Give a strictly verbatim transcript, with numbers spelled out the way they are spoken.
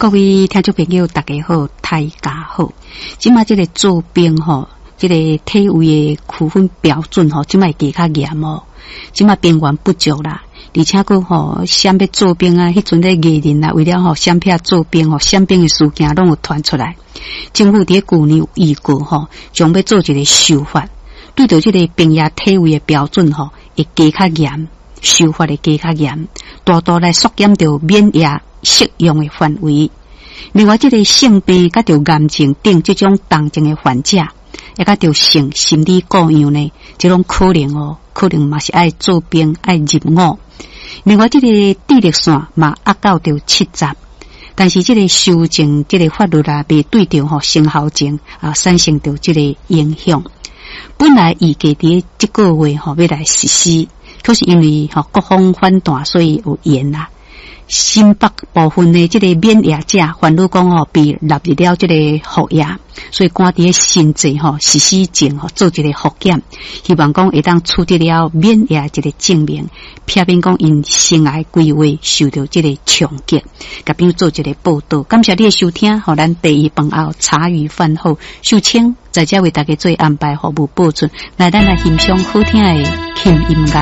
各位聽眾朋友，大家好，大家好。這馬這个做兵吼，這个體位的區分標準吼，這馬會加較嚴哦。這馬兵源不足啦，而且閣吼，啥欲做兵啊，彼陣咧藝人啊，為了吼閃避做兵吼，閃兵的事件攏有傳出來。政府佇舊年有預告吼，將欲做一个修法，對著這个兵役體位的標準吼，會加較嚴，修法會加較嚴，大大來縮減著免役適用的範圍。另外，這个性病佮著癌症等這種重症的患者，也佮著性心理顧樣呢，這種可能哦，可能嘛是愛做兵愛入伍。另外，這个智力線嘛壓到著七十，但是這个修正這个法律啊，未對著吼生效前啊產生著這个影響。本來預計佇這个月吼欲來實施，可是因為吼各方反彈，所以有延啦。新北部分的這个免役者，煩惱講吼被納入了這个服役，所以趕佇新制吼實施前吼做一个複檢，希望講會當取得了免役一个證明，避免講𪜶生涯規劃受著這个衝擊。共朋友做一个報導，感謝你的收聽，予咱茶餘飯後茶餘飯後秀清在遮為大家做安排服務播出，來咱來欣賞好聽的輕音樂。